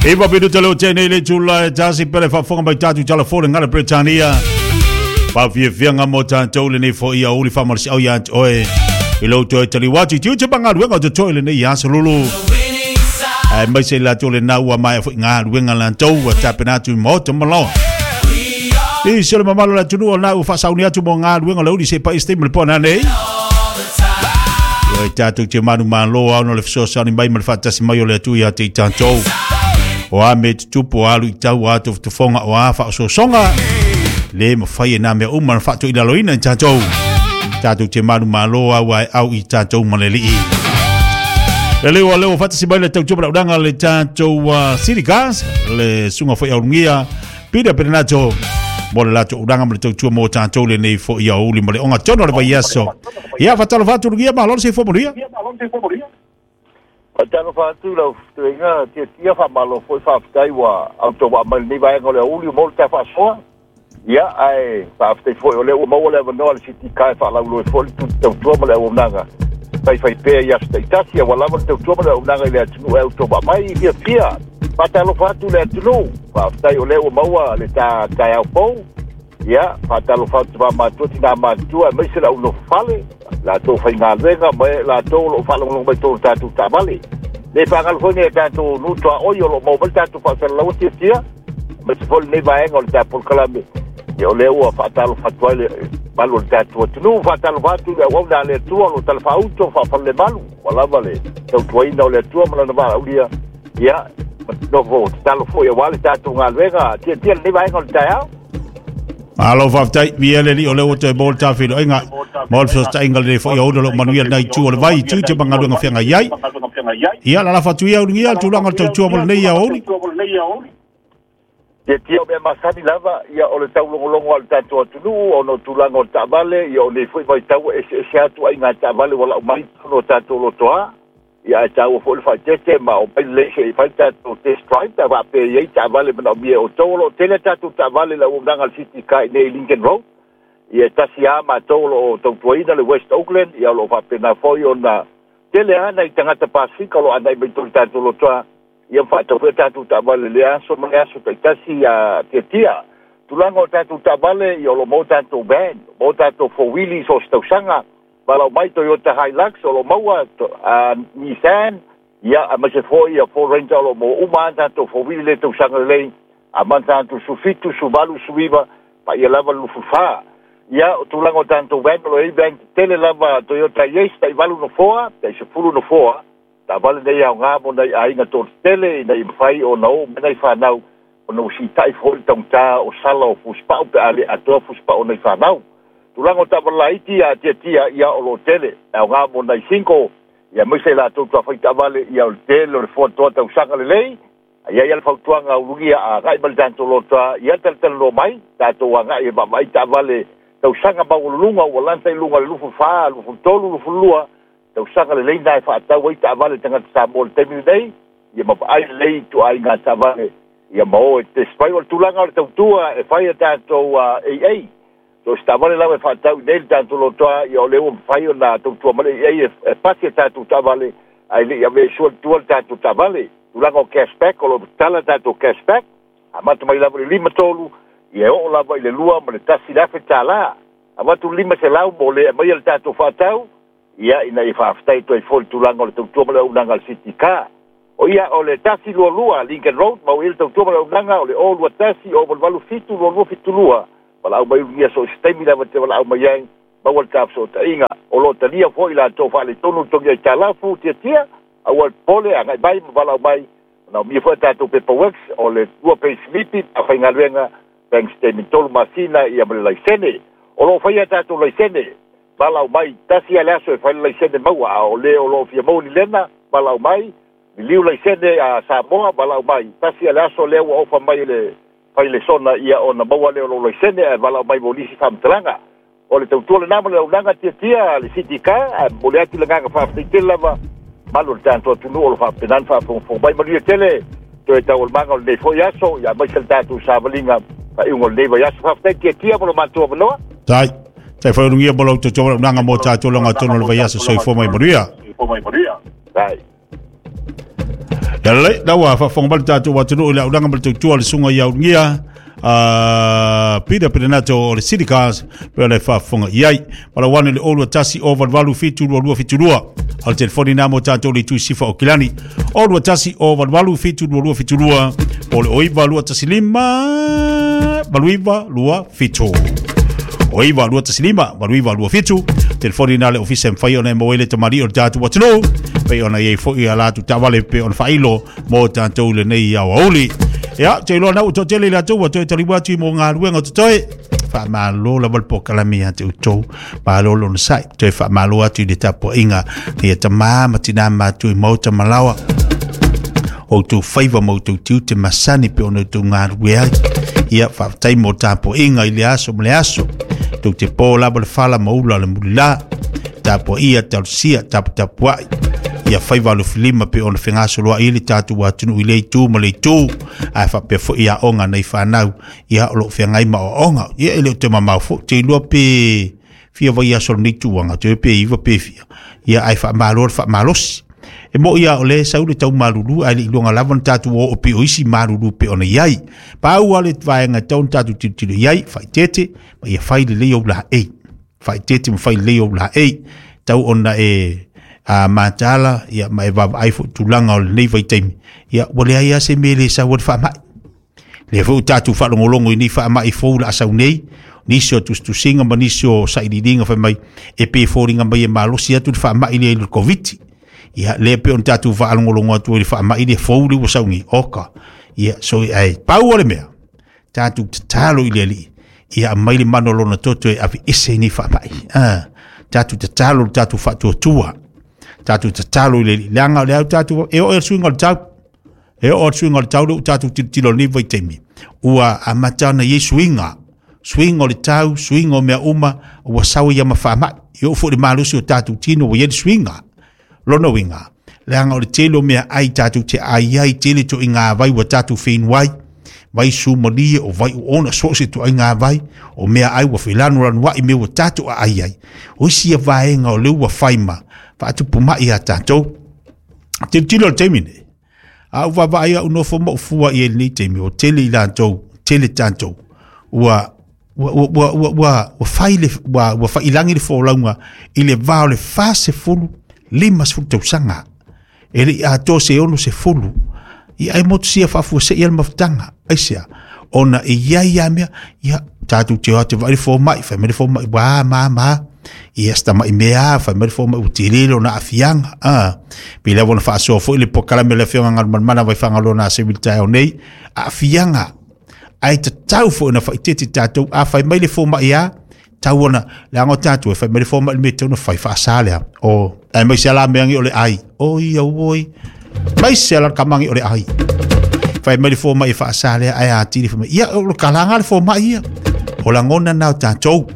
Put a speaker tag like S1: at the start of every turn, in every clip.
S1: Iva minuta le o tēnei le tula e tasi pele faafofoga mai tatou telefone ngala Britania. Faafiafiaga mo tatou lenei foi a uli faamalosiau ia te oe. I lou toe taliu atu i tiute ma galuega o totoe lenei aso lulu. Ae mai se latou le nau ua maea foi galuega latou ua tapena atu i maota ma laoa. I se le mamalu o le atunuu o lena ua faasauni atu mo galuega o le uli se paia se taimi o le po nanei. Ia tatou te manumalo ao no le fesoasoani mai ma le faatasi mai o le Atua ia te i tatou. O a me tutupu, o a luitau, o a tofotofoga, o a faaosoosoga, le mafai e nā mea uma na faatoilaloina i tatou. Tatou te manumalo au ae au i tatou ma le Alii. Le leo a leo faatasi mai le tautua ma laudaga le tatou City Cars, le suga foi aulugia Peter Perenato mo le latou ulaga ma le tautua mo tatou lenei foi aoauli ma le ogatotonu o le vaiaso. Ia, faatalofa atu Lugia, malo le soifua manuia.
S2: Faatalofa atu lau fetuaiga tiatia, faamalo foi faafetai ua autovaa mai lenei vaega o le aoauli mo le ta faasoa. Ia, ae faafetai foi o lea ua maua le avanoa le City Car e faalauiloa foi le tautua ma le auaunaga faifai pea i aso taitasi, aua lava le tautua ma le auaunaga i le atunuu e autovaa mai fiafia. Faatalofa atu le atunuu, faafetai o lea ua maua le ta taeao fou. Ia, faatalofa atu faamatua tina matutua aemaise le au nofo fale, latou faigaluega ma latou o lo o faalogologo mai totonu o tatou taavale. Le faagalo foi nei a tatou nuu tuaoi o lo o maua mai le tatou faasalalaua tiatia, aemaise foi lenei vaega o le tatou polokalame. Ia, o lea ua faatalofa atu ai le malu o le tatou atunuu, faatalofa atu i le auauna a le Atua o lo o talafaauto faafalalemalu, ua lava le tautuaina o le Atua ma lana valaaulia. Ia, nofo tatalo foi aua le tatou galuega tiatia lenei vaega o le taeao.
S1: Malo faafetai, viia le Alii o lea ua toe maua le ta feiloaiga mo le fesootaiga lenei foi aoauli o lo o manuia lena itu o le vai i tiute ma galuega feagai ai. Ia, lalafa atu ia ulugia le tulaga o le tautua mo lenei aoauli.
S2: Tiatia o mea masani lava, ia o le taulogologo a le tatou atunuu ona o tulaga o le taavale, ia o nei foi vaitau ua eseese atu aiga taavale ua lau mai totonu o tatou lotoa. Ia ae taua foi le faaeteete ma omai lelei se i fai le tatou test drive pe a faapea e i ai taavale manaomia e outou. O lo o tele a tatou taavale i le auaunaga a le City Car i inei i Lincoln Road. Ia e tasi lava matou o lo o tautuaina le West Oakland, ia o lo o faapena foi ona tele lava nai tagata Pasefika o lo o agai mai totonu i tatou lotoa, ia ma faatau foi a tatou taavale i lea aso ma le aso taitasi ia tiatia. Tulaga o tatou taavale, ia o lo o maua tatou van, maua tatou four wheelie i so o se tausaga. Valaau mai Toyota Hilux o lo o maua, Nissan, ia aemaise foi ia Ford Ranger o lo o maua uma lava tatou four-wheeler i lea tausaga lelei, amata atu 17, 18, 19, paia lava le 24. Ia, o tulaga o tatou van, o lo o i ai van tetele lava Toyota Hiace, tai 8 nofoa, tai 10 nofoa, taavale nei aoga mo nai aiga toatetele ina ia mafai ona oo mai nai fanau ona ua siitai foi le taugata o sala o fusipau pe a le atoa fusipau o nai fanau. Tulaga o taavale laiti a tiatia ia o lo o tele, e aoga mo nai single, ia aemaise i latou tuafai taavale ia o le tele o le foatoa tausaga lelei. A i ai lava le fautuaga ulugia a agai mai le tatou lotoa, ia talatalanoa mai, tatou agai e vaavaai taavale tausaga maualuluga ua lanta i luga o le 24, 23, 22, tausaga lelei na e faatau ai taavale tagata Samoa i le taimi lenei, ia ma vaai lelei ituaiga taavale ia ma o e test mai. O le tulaga o le tautua e fai a tatou AA, so o se taavale lava e faatau i nei le tatou lotoa, ia o lea ua mafai ona tautua mai le AA e pasi a tatou taavale ae le i avea i sua tua le tatou taavale. Tulaga o cashback, o lo o tatala tatou cashback, amata mai lava i le 53, ia e oo lava i le 2 ma le $1,000. Avatu le 500 mo le aumaia le tatou faatau, Ia, ina ia faafetai atu ai foi i le tulaga o le tautua ma le auaunaga a le City Car. O ia, o le 122 Lincoln Road, maua i ai le tautua ma le auaunaga, o le 021 087 2272, valaau mai ulugia so o se taimi lava e te valaau mai ai, maua le ta fesootaiga. O lo o talia foi latou faaletonu le togi aitalafu tiatia, aua le popole, agai mai ma valaau mai, manaomia foi a tatou paperworks, o le 2 payslipi a faigaluega, bank statement 3 masina, ia ma le laisene. O lo o faia a tatou laisene. Valaau mai, tasi a le aso e fai le laisene maua, a o le o lo o fia maua ni lena, valaau mai, liliu laisene a Samoa, valaau mai, tasi a le aso lea ua ofa mai e le fai lesona ia ona maua lea o lou laisene ae valaau mai mo nisi faamatalaga. O le tautua lena ma le auaunaga tiatia a le City Car, ae momoli atu le agaga faafetai tele lava malu o le tatou atunuu o lo o faapena ona faafogafoga mai. Manuia tele toe taualumaga o lenei foi aso, ia aemaise le tatou savaliga faaiuga o lenei vaiaso. Faafetai tiatia mo lo matou avanoa.
S1: Tai. Tai whai urungia mo lau tautua wala unanga mō tātou longa tonu o le vaiaso soifua mai manuia.
S2: Tai.
S1: Ia lelei, la ua faafofoga mai le tatou atunuu i le aulaga ma le tautua a le susuga ia Ulugia Peter Perenato o le City Cars pe o le faafofoga i ai. Palau ane le 021 088 722 72. O le telefoni nā mo tātou le itu sifa o Kilani. 021 088 722 72. Po o le 09 215 89 27. 09 215 89 27. Telefoni nā le ofisa e mawhai ona e maua ai le tamalii o le tātou atunuu. Pei ona i ai foi a latou taavale pei ona faailo mo tātou lenei aoauli. Ia, te iloa nau toatele i latou ua toe taliua atu i mo galuega o totoe. Faamalo lava le polokalame ia te outou. Malo le onosai. Toe faamalo atu i le tapuaiga ia tamā ma tinā matutua i maota ma laoa. O outou faiva ma outou tiute masani pe ona outou galulue ai. Ia, faafetai mo tapuaiga i le aso ma le aso. Tou te po lava le fala ma ula le mulila. Tapuaia, talosia, taputapuai. Ia faiva alofilima pe ona fegasoloai ai le tatou atunuu i lea itu ma le itu. Ae faapea foi aoga nai fanau, ia o lo o feagai ma aoaoga. Ia e le o te mamao foi, te iloa pe fia vaiaso o lenei tūanga, te pe iva pe fia. Ia ae faamalo le faamalosi. E mo ia o le sau le tau malulu ae le i luga lava na tatou o o pe o isi malulu pe ona i ai. Pau lava le vaega e tatau ona tatou tilotilo i ai, faaeteete ma ia fai lelei ou laei. Faaeteete ma fai lelei ou laei. Tau ona e a mataala ia ma e vaavaai foi tulaga o lenei vaitaimi. Ia ua leai lava se mea e le sau ai le faamai. Lea foi ua tatou faalogologo i nei faamai fou la sau nei, nisi o tusitusiga ma nisi o sailiiliga fai mai e pei e foliga mai e malosi atu le faamai lea i le Koviti. Ia, lea pei ona tatou faalogologo atu ai i le faamai lea fou lea ua sau nei, oka. Ia, so ai, pau o le mea, tatou tatalo i le Alii, ia aumai le mana o lona toto e aveese ai nei faamai. Ah, tatou tatalo le tatou faatuatua. Tatou tatalo i le Alii, leaga o le au tatou, e oo i le suiga o le tau. E oo atu suiga o le tau lea ua tatou tilotilo i lenei vaitaimi, ua amata ona i ai suiga, suiga o le tau, suiga o mea uma, ua sau ai ma faamai. E oo foi i le malosi o tatou tino ua i ai le suiga. Lona uiga, leaga o le tele o meaai tatou te ai ai, tele ituaiga vai ua tatou feinu ai, vai sumalie, o vai oona, so o se ituaiga vai, o meaai ua felanulanuai mea ua tatou aai ai. O isi ia vaega o lea ua fai ma faatupu mai ia tatou. Tilotilo i le taimi nei, a ou vaavaai au nofo ma ou fua i ai i lenei taimi, ua tele i latou, tele tatou, ua ua ua ua ua ua ua fai le ua ua faiilagi le folauga i le va o le 40 50 tausaga. E le i atoa se 60. Ia ai motusia faafuasei le mafutaga. Aisea? Ona e i ai lava mea, ia tatou te o atu e vaai le fomai, fai mai le fomai, ua ma ma. Ia se tamai mea lava, fai mai le fomai ua tele lona aafiaga. Ah, pei lava ona faasoa foi le polokalame a le Afioga Galumalemana Vaifagaloa na Aseu i le taeao nei, aafiaga. Ae tatau foi ona faaeteete tatou, a fai mai le fomai a, tau ona, leaga o tatou e fai mai le fomai le mea e tatau ona fai faasa lea. O, aemaise lava la mea o le ai. Oi, auoi. Aemaise lava la kamagi o le ai. Fai mai le fomai e faasa lea, ae atili fai mai, ia, o le kalaga le fomai ia. O lagona na o tatou.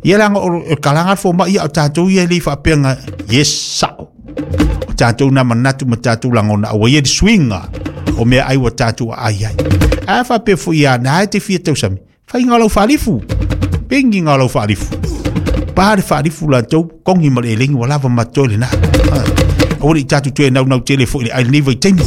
S1: Ia leaga o le kalaga le fomai ia o tatou ia e le i faapea nga, yes, sao. O tatou na manatu ma tatou lagona, aua ia le suiga o mea ai ua tatou aai ai. A faapea foi ia, na e te fia tausami, Faiga o lau faalifu. Pengi o lau faalifu. Pa le faalifu latou, kongi ma le elegi ua lava ma totoe lena. Aua ne i tatou toe naunau tele foi i le ai lenei vaitaimi.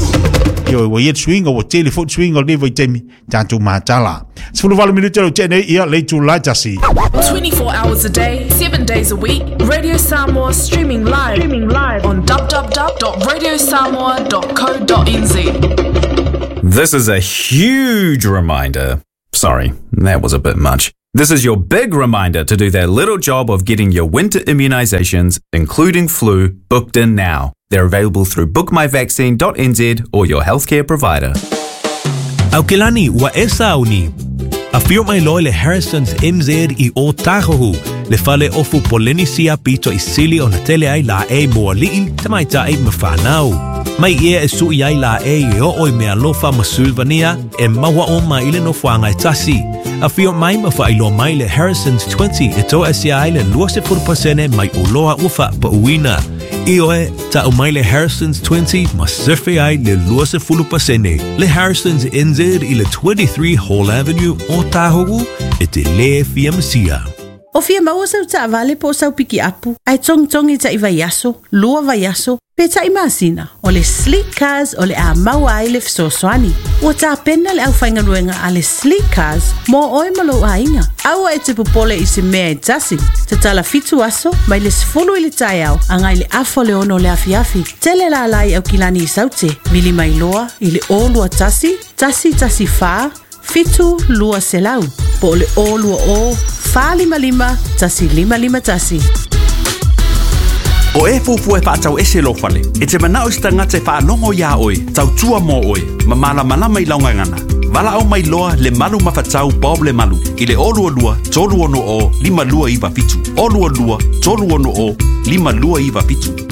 S1: Ioe, ua i ai le suiga, ua tele foi le suiga o lenei vaitaimi, tatou matala. 18 minute leo tea nei, ia, le itula e tasi.
S3: 24 hours a day, 7 days a week, Radio Samoa streaming live, streaming live on www.radiosamoa.co.nz.
S4: This is a huge reminder. Sorry, that was a bit much. This is your big reminder to do that little job of getting your winter immunizations, including flu, booked in now. They're available through bookmyvaccine.nz or your healthcare provider.
S5: Aukilani, ua e sauni. Afio mai loa le Harrison's NZ i Ōtāhuhu, le fale ofu Polenisia pito i sili ona tele ai laʻei mo aliʻi, tamaitai ma whānau. Mai ia e sui ai laʻei e oo i mealofa ma Sulvania e maua uma i le nofoaga e tasi. Afio mai ma faailoa mai le Harrison's 20 e toasia ai le 20% mai oloa ua faapauina. Ioe, ta'u mai le Harrison's 20 ma sefe ai le 20%. Le Harrison's NZ i le 23 Hall Avenue, Ōtāhuhu, e te lē fia masia.
S6: O fia maua sau taavale po o sau pikiapu, ae togitogi taʻi vaiaso, 2 vaiaso, pe taʻi masina, o le Sleek Cars o le a maua ai le fesoasoani. Ua tapena le aufaigaluega a le Sleek Cars mo oe ma lou aiga. Aua e te popole i se mea e tasi. Tatala 7 aso mai le 10 i le taeao agai le 5:30 o le afiafi. Tele lala i Aukilani i Saute. Vili mai loa i le 021 114 7 200 po o le 020 455 1551.
S7: O e fuafua e faatau ese lou fale, e te manao i se tagata e faalogo iā oe, tautua mo oe, ma malamalama i lau gagana. Valaau mai loa le Malu Mafatau Bob le Malu i le 022 360 5297. 022 360 5297.